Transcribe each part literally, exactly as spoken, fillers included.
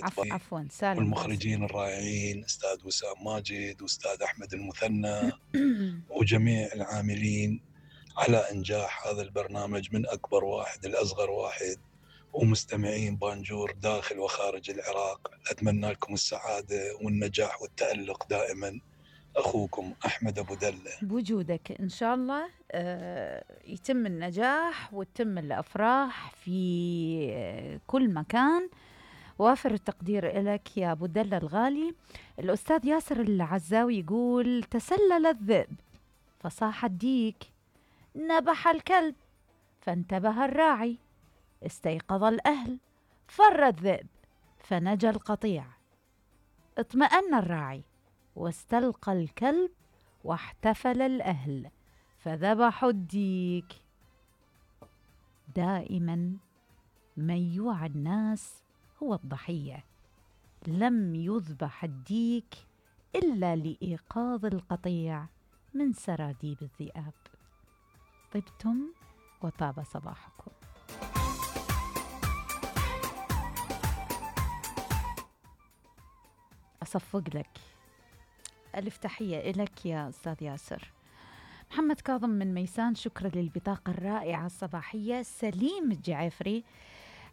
عفو عفوا سالم والمخرجين الرائعين أستاذ وسام ماجد وأستاذ أحمد المثنى وجميع العاملين على إنجاح هذا البرنامج من أكبر واحد لأصغر واحد، ومستمعين بانجور داخل وخارج العراق. أتمنى لكم السعادة والنجاح والتألق دائما. أخوكم أحمد أبو دلة. بوجودك إن شاء الله آه يتم النجاح وتتم الأفراح في كل مكان. وافر التقدير لك يا أبو دلة الغالي. الأستاذ ياسر العزاوي يقول: تسلل الذئب فصاح الديك، نبح الكلب فانتبه الراعي، استيقظ الأهل فر الذئب فنجى القطيع، اطمأن الراعي واستلقى الكلب واحتفل الأهل فذبحوا الديك. دائما من يوعى الناس هو الضحية، لم يذبح الديك إلا لإيقاظ القطيع من سراديب الذئاب. طبتم وطاب صباحكم. أصفق لك ألف تحية إلك يا أستاذ ياسر. محمد كاظم من ميسان، شكرا للبطاقة الرائعة الصباحية. سليم الجعفري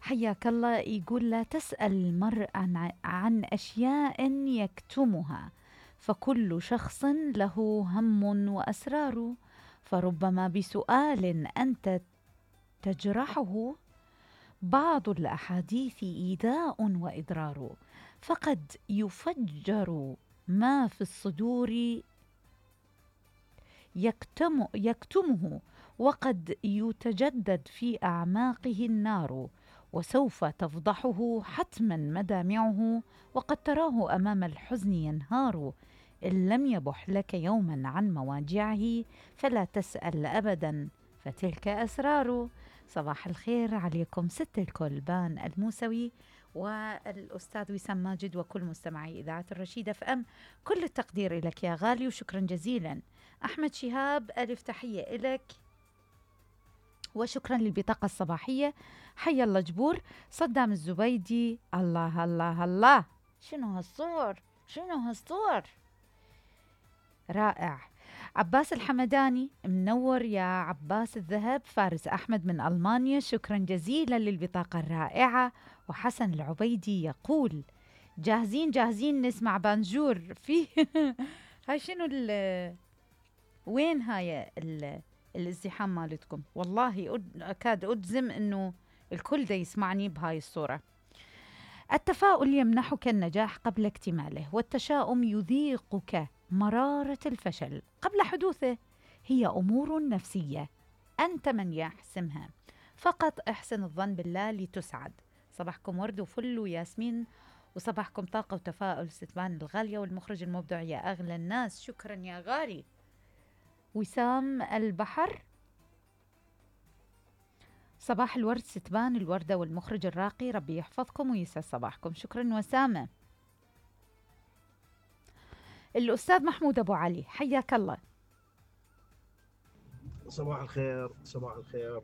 حياك الله يقول: لا تسأل المرء عن, عن أشياء يكتمها، فكل شخص له هم وأسرار، فربما بسؤال أنت تجرحه بعض الأحاديث إيذاء وإضرار، فقد يفجر ما في الصدور يكتم يكتمه، وقد يتجدد في أعماقه النار، وسوف تفضحه حتما مدامعه، وقد تراه أمام الحزن ينهار. إن لم يبح لك يوما عن مواجعه فلا تسأل أبدا، فتلك أسرار. صباح الخير عليكم ست الكلبان الموسوي والأستاذ وسام ماجد وكل مستمعي إذاعة الرشيدة فأم. كل التقدير لك يا غالي وشكرا جزيلا. أحمد شهاب ألف تحية لك وشكرا للبطاقة الصباحية. حي الله جبور. صدام الزبيدي: الله الله الله، شنو هالصور، شنو هالصور، رائع. عباس الحمداني: منور يا عباس الذهب. فارس أحمد من ألمانيا: شكرا جزيلا للبطاقة الرائعة. وحسن العبيدي يقول: جاهزين جاهزين نسمع بانجور في هاي شنو ال وين هاي ال الازدحام مالتكم؟ والله أكاد أجزم أنه الكل دا يسمعني بهاي الصورة. التفاؤل يمنحك النجاح قبل اكتماله، والتشاؤم يذيقك مرارة الفشل قبل حدوثه. هي أمور نفسية أنت من يحسمها، فقط احسن الظن بالله لتسعد. صباحكم ورد وفل وياسمين، وصباحكم طاقة وتفاؤل. ستبان الغالية والمخرج المبدع يا أغلى الناس. شكرا يا غالي. وسام البحر: صباح الورد ستبان الوردة والمخرج الراقي، ربي يحفظكم ويسعد صباحكم. شكرا وسامة. الأستاذ محمود أبو علي: حياك الله. صباح الخير، صباح الخير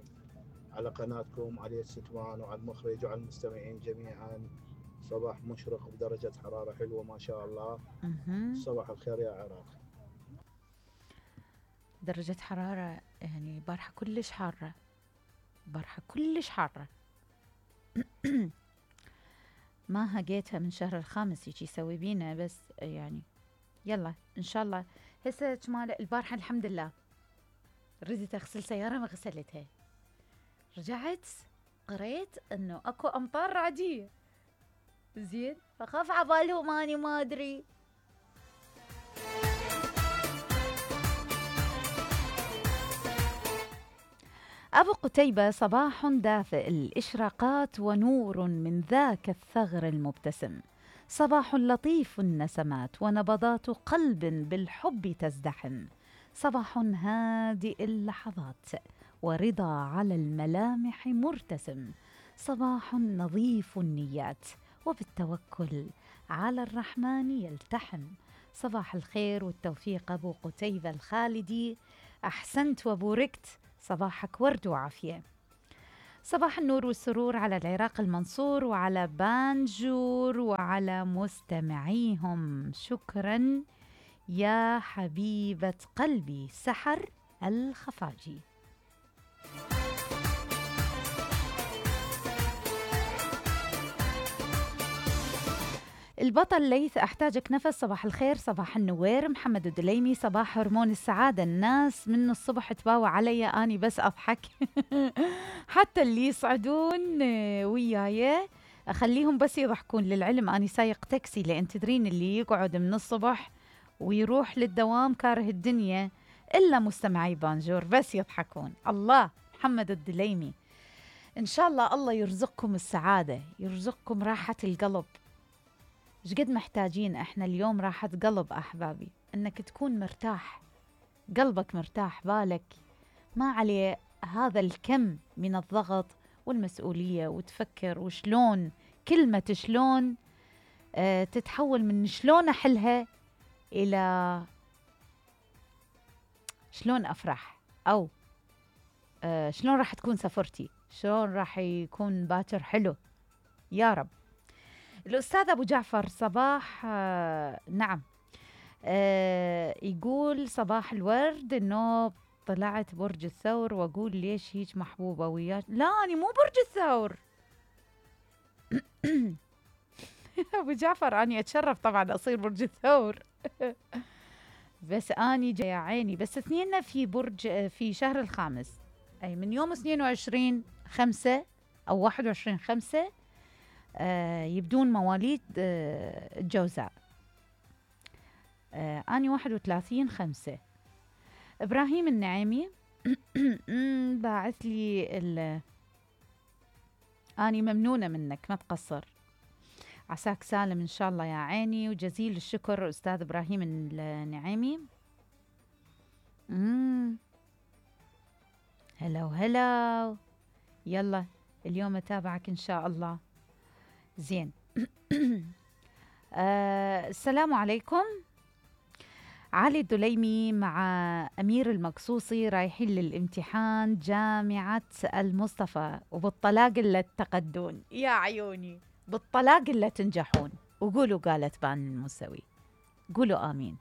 على قناتكم، على الستوان وعلى المخرج وعلى المستمعين جميعا. صباح مشرق بدرجة حرارة حلوة ما شاء الله. صباح الخير يا عراق. درجة حرارة يعني بارحة كلش حارة، بارحة كلش حارة. ما هقيتها من شهر الخامس يجي يسوي بينا، بس يعني يلا إن شاء الله. هسه كمال البارحة الحمد لله ردت أغسل سيارة ما غسلتها، رجعت قريت إنه أكو أمطار رعدية، زين فخاف عبالهم أني ما أدري. أبو قتيبة: صباح دافئ الإشراقات ونور من ذاك الثغر المبتسم، صباح لطيف النسمات ونبضات قلب بالحب تزدحم، صباح هادئ اللحظات ورضا على الملامح مرتسم، صباح نظيف النيات وبالتوكل على الرحمن يلتحم. صباح الخير والتوفيق أبو قتيبة الخالدي، أحسنت وبوركت، صباحك ورد وعافية. صباح النور والسرور على العراق المنصور وعلى بانجور وعلى مستمعيهم. شكرا يا حبيبة قلبي سحر الخفاجي. البطل ليث أحتاجك نفس. صباح الخير. صباح النوير. محمد الدليمي. صباح هرمون السعادة. الناس من الصبح تباوع علي أني بس أضحك حتى اللي يصعدون وياي أخليهم بس يضحكون. للعلم أني سايق تاكسي، لأن تدرين اللي يقعد من الصبح ويروح للدوام كاره الدنيا إلا مستمعي بانجور بس يضحكون. الله. محمد الدليمي، إن شاء الله الله يرزقكم السعادة، يرزقكم راحة القلب. إيش قد محتاجين إحنا اليوم راحة قلب أحبابي، إنك تكون مرتاح، قلبك مرتاح، بالك ما عليه هذا الكم من الضغط والمسؤولية، وتفكر وشلون كلمة شلون آه تتحول من شلون أحلها إلى شلون أفرح، أو آه شلون راح تكون سفرتي، شلون راح يكون باكر حلو. يا رب. الأستاذ أبو جعفر صباح آه نعم آه يقول صباح الورد، إنه طلعت برج الثور وأقول ليش هيك محبوبة وياك. لا أنا مو برج الثور أبو جعفر أنا أتشرف طبعا أصير برج الثور بس أني جاي عيني، بس اثنيننا في برج في شهر الخامس، أي من يوم اثنين وعشرين خمسة أو واحد وعشرين خمسة آه يبدون مواليد آه الجوزاء. آه أنا واحد وثلاثين خمسة. إبراهيم النعيمي باعث لي ال أني ممنونة منك ما تقصر، عساك سالم إن شاء الله يا عيني، وجزيل الشكر أستاذ إبراهيم النعيمي. مم. هلا وهلا. يلا اليوم أتابعك إن شاء الله. زين. آه السلام عليكم. علي الدليمي مع أمير المقصوصي رايحين للامتحان جامعة المصطفى، وبالطلاق اللي تقدون يا عيوني، بالطلاق اللي تنجحون. وقولوا قالت بان المسوي، قولوا آمين.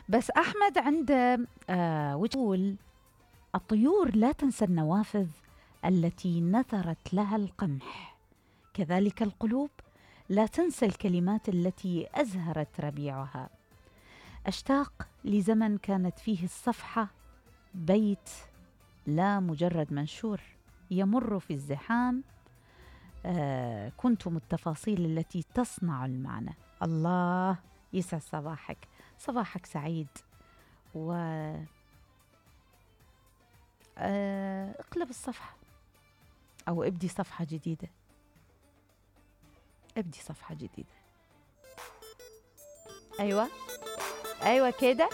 بس أحمد عنده آه وتقول الطيور لا تنسى النوافذ التي نثرت لها القمح، كذلك القلوب لا تنسى الكلمات التي أزهرت ربيعها. أشتاق لزمن كانت فيه الصفحة بيت لا مجرد منشور يمر في الزحام. آه كنتم التفاصيل التي تصنع المعنى. الله يسعد صباحك، صباحك سعيد. و آه اقلب الصفحة أو ابدي صفحة جديدة، ابدي صفحة جديدة. أيوة أيوة كده.